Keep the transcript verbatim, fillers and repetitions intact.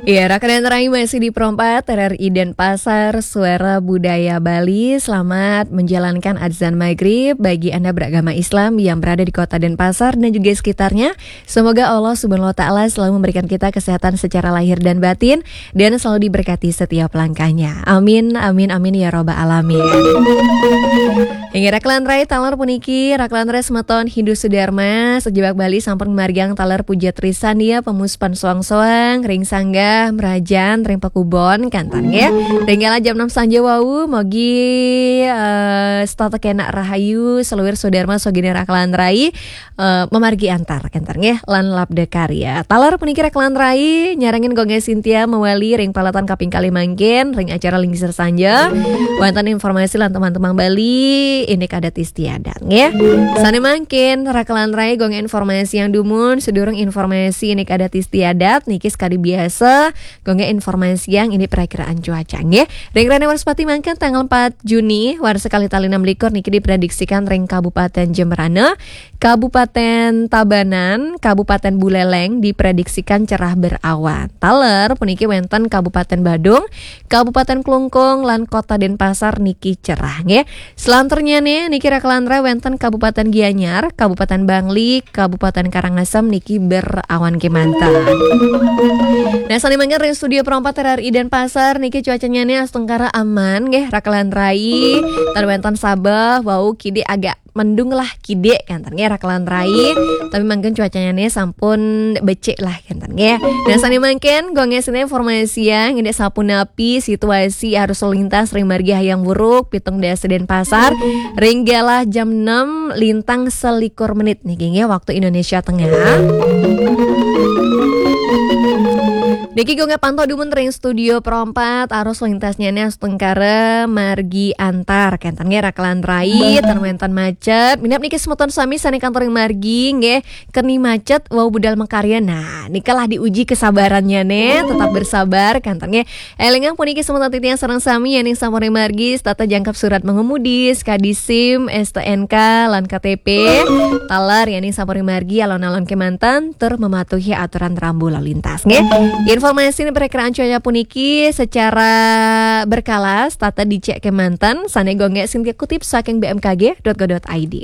Ya, rakan dan rai masih di Pro empat R R I Denpasar, Suara Budaya Bali. Selamat menjalankan azan maghrib bagi Anda beragama Islam yang berada di kota Denpasar dan juga sekitarnya. Semoga Allah Subhanahu wa Ta'ala selalu memberikan kita kesehatan secara lahir dan batin dan selalu diberkati setiap langkahnya. Amin, amin, amin ya robbal alamin. Inggih rakan rai, taler puniki rakan rai semeton Hindu Sudarma, sajebag Bali sampun margiang taler puja trisan ya, pemuspan soang-soang ring sanggah, merajan ring pakubon, kénten nggih. Ring galah jam enam sanja wau, mogi eh, setata kenak rahayu, seluir Sudarma sogini rakan rai, eh, mamargi antar, kénten nggih, lan labda karya. Taler puniki rakan rai, nyarengin Gung Gai Sintia mawali ring peralatan kaping kalih mangkin, ring acara Lingsir Sanja. Wonten informasi lan teman-teman Bali, indik adat istiadat, nggih. Sane mangkin, rakan rai, Gung Gai informasiang dumun, sedurung informasi indik adat istiadat, niki sekadi biasa, Gung Gai informasiang indik perakiraan cuaca, nggih. Ring rene Wrespati mangkin tanggal empat Juni, warsa kalih tali enam likur niki diprediksikan ring Kabupaten Jembrana, Kabupaten Tabanan, Kabupaten Buleleng diprediksikan cerah berawan. Taler puniki wenten Kabupaten Badung, Kabupaten Klungkung, lan Kota Denpasar niki cerah, nggih. Selanturnyane niki rakan rai wenten Kabupaten Gianyar, Kabupaten Bangli, Kabupaten Karangasem niki berawan kemanten. Nah, sane mangkin ring studio Pro empat R R I Denpasar niki cuacanyane astungkara aman, nggih, rakan rai. Tan wenten sabeh, wau kidik agak mendung lah kidik, kénten nggih, rakan rai. Tapi mangkin cuacanyane sampun becik lah, kénten nggih. Nah, sane mangkin, Gung Gai sine informasiang indik sapunapi situasi arus lalu lintas ring margi Hayam Wuruk, pitung dasa Denpasar, ring galah jam enam lintang selikur menit niki nggih, waktu Indonesia Tengah. Niki Gung Gai pantau dumun ring studio Pro empat, arus lalu lintasnyane astungkara margi antar, kénten nggih rakan rai, tan wenten macet. Minab niki semeton sami sane kantor ring margi, nggih, keni macet, wau budal makarya. Nah, nikalah diuji kesabarannyane, tetap bersabar, kénten nggih. Elingang puniki semeton titiang sareng sami, yening sampun ring margi, setata jangkep surat mengemudi, sekadi SIM, S T N K, lan K T P. Taler, yening sampun ring margi, alon-alon kemanten, tur mematuhi aturan rambu lalu lintas, nggih. Informasi perakiraan cuaca puniki secara berkala, setata dicek kemanten, sane Gung Gai Sintia kutip saking B M K G dot go dot I D.